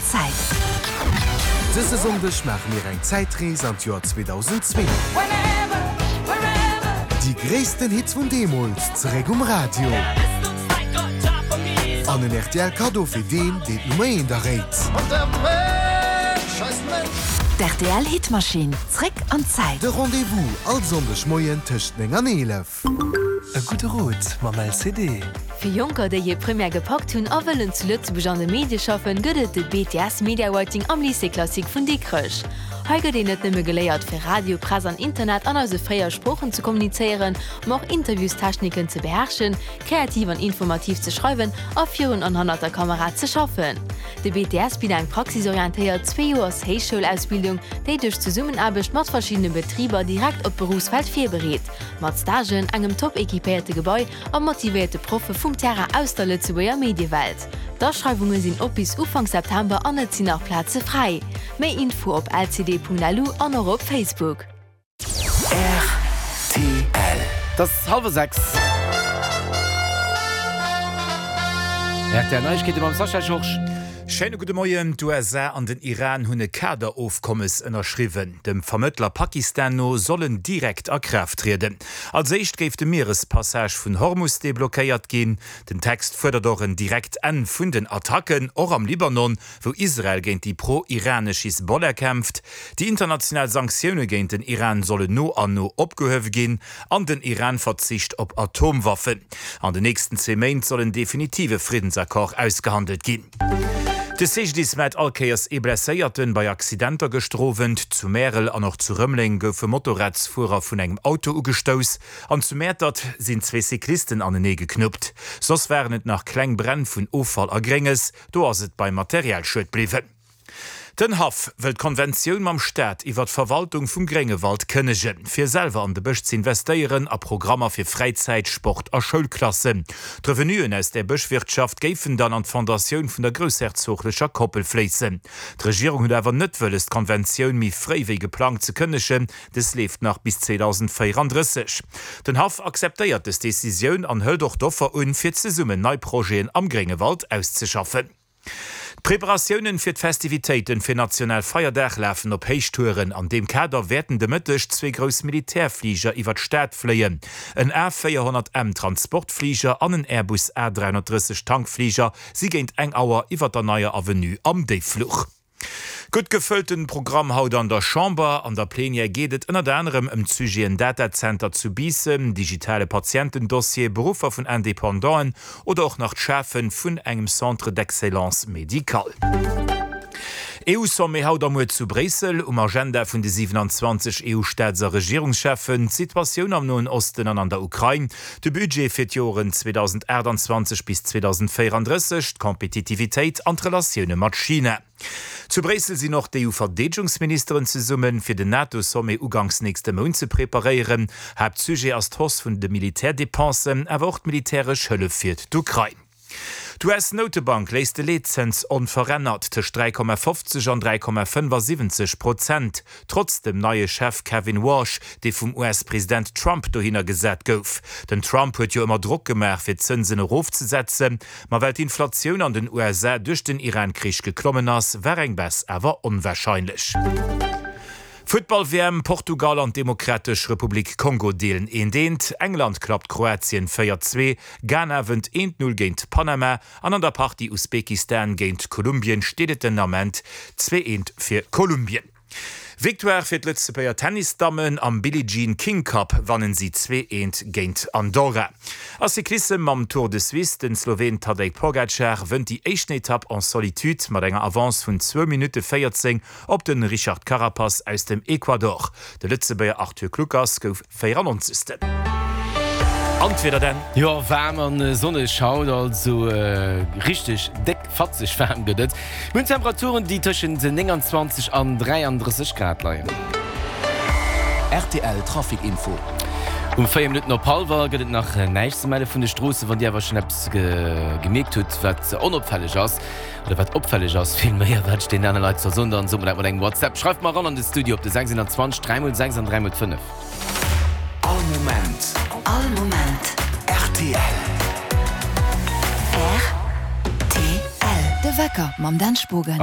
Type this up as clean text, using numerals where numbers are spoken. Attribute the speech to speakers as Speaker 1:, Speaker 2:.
Speaker 1: Zäit.
Speaker 2: Dëse Sonndeg maache mir eng Zäitrees an d'Joer 2002. Déi gréissten Hits vun deemools zeréck um Radio. An en rtl Kaddo fir deen, deen d'Nummer eent erréit.
Speaker 1: D'RTL Hitmaschinn, zréck an d'Zäit.
Speaker 2: De Rendez-vous all Sonndeg Moien tëscht 9 an 11.
Speaker 3: E gudde Rot mam LCD.
Speaker 4: Fir Jonker, déi hir Première gepackt hunn a wëllen zu Lëtzebuerg an de Medie schaffen, gëtt et de BTS Media Writing am Lycée Classique vun Dikrech. Hei gëtt een net nëmme geléiert, fir Radio, Press an Internet an eise 4 Sproochen ze kommunizéieren, ma och Interviewstechniken ze beherrschen, kreativ an informativ ze schreiwen a virun an hannert der Kamera ze schaffen. De BTS bitt eng praxisorientéiert zweejoers Héichschoulausbildung, déi duerch Zesummenaarbecht mat verschiddene Betriber direkt op d'Beruffswelt virbereet. Mat Stagen, engem top equipéierte Gebai a motivéierte Proffe vum Terrain aus der Lëtzebuerger Mediewelt. D'Aschreiwunge sinn op bis Ufank September an et sinn nach Plaze fräi. Méi Info op lcd.lu an och op Facebook.
Speaker 3: Rtl. Et ass hallwer 6. Rtl Neiegkeete mam Sascha Georges.
Speaker 5: Schéine gudde Moien. D'USA an den Iran hunn e Kaderofkommes ënnerschriwwen. Dem Vermëttler Pakistan no soll en direkt a Kraaft trieden. Als éischt géif de Mierespassage vun Hormus deblockéiert ginn. Den Text fuerdert och en direkt Enn vun den Attacken, och am Libanon, wou Israel géint déi pro-iranesch Hisbollah kämpft. Déi international Sanktioune géint den Iran sollen no an no opgehuewe ginn an den Iran verzicht op Atomwaffen. An den nächsten zwee Méint soll en definitive Friddensaccord ausgehandelt ginn. De CGDIS mellt all Kéiers ee Blesséierten bei Accidenter gëschter Owend. Zu Märel an och zu Rëmeleng goufe Motorradsfuerer vun engem Auto ugestouss an zu Mäertert sinn zwee Cyclisten anenee geknuppt. Soss waren et nach kleng Bränn vun Offall a Grénges. Do ass et beim Materialschued bliwwen. Den Haff wëll d'Konventioun mam Staat iwwer d'Verwaltung vum Gréngewald kënnegen, fir selwer an de Bësch z'investéieren a Programmer fir Fräizäit-, Sport a Schoulklassen. D'Revenuen aus där Bëschwirtschaft géifen dann an d'Fondatioun vun der groussherzoglecher Koppel fléissen. D'Regierung huet awer net wëlles d'Konventioun méi fréi wéi geplangt ze kënnegen, dës leeft nach bis 2034. Den Haff akzeptéiert dës Decisioun an hëlt och d'Offer un, fir zesummen nei Projeten am Gréngewald auszeschaffen. D'Preparatiounen fir d'Festivitéiten fir National Feierdag lafen op Héichtouren. An deem Kader wäerten de Mëtteg zwee grouss Militärfliger iwwer d'Stad fléien. En A 400 M Transportfliger an en Airbus A 330 Tankfliger si géint eng Auer iwwer der Neier Avenue am Déiffluch. Gutt gefëllten Programm haut an der Chamber. An der Plenière geet et ënnert anerem ëm d'Sujeten Datacenter zu Biissen, digitale Patientendossier, Beruffer vun Independanten oder och nach d'Schafe vun engem Centre d'excellence médical. EU-Sommet haut a muer zu Bréissel. Um Agenda vun de 27 EU-Staats a Regierungscheffen, d'Situatioun am Noen Osten an an der Ukrain, de Budget fir d'Joren 2028 bis 2034, d'Kompetitivitéit an d'Relatioune mat China. Zu Bréissel sinn och d'EU-Verdeedegungsministeren zesummen, fir den NATO-Sommet uganks nächste Mount ze preparéieren. Haaptsujet ass d'Hausse vun de Militärdepensen, awer och d'militäresch Hëllef fir d'Ukrain. D'US-Noutebank léisst de Leetzëns onverännert tëscht 3,50 an 3,75 Prozent, trotz dem neie Chef Kevin Warsh, dee vum US-President Trump dohinner gesat gouf. Den Trump huet jo ëmmer Drock gemaach, fir d'Zënsen erofzesetzen, ma well d'Inflatioun an den USA duerch den Iran-Krich geklommen ass, war eng Baisse awer onwarscheinlech. Futtball-WM, Portugal an d'Demokratesch Republik Kongo deelen eent eent, England klappt Kroatien 4, 2, Ghana wënnt eent 0 géint Panama an an der Partie Usbekistan géint Kolumbien steet et den Ament 2, 1 fir Kolumbien. Victoire fir d'Lëtzebuerger Tennisdammen am Billie Jean King Cup wannen si 2, 1 géint Andorra. A Cyclissem mam Tour de Suisse, Den Sloween Tadej Pogacar wënnt déi éischten Etapp en solitude mat enger Avance vun zwou Minutte 14 Op de Richard Carapaz aus dem Ecuador. De Lëtzebuerger Arthur Kluckers gouf 94. An d'Wieder denn?
Speaker 3: Jo, waarm an sonneg haut, also richteg déck fatzeg waarm gëtt et. Mir hunn Temperaturen, déi tëschent 29 an 33 Grad leien.
Speaker 2: Rtl Trafic Info.
Speaker 3: Um 4 Minutten op hallwer gëtt et nach näischt ze melle vun de Stroossen. Wann Dir awer schonn eppes gemierkt hutt, wat onopfälleg ass, Oder wat opfälleg ass, vill méi a wat ech deenen anere Leit soll soen, dann sot mer dat mat engem WhatsApp. Schreift mer eran an de Studio op de 620 3 mol 6 an 3 mol 5.
Speaker 2: All Moment.
Speaker 1: All Moment.
Speaker 2: Rtl.
Speaker 1: Rtl. De Wecker mam Dan Spogen.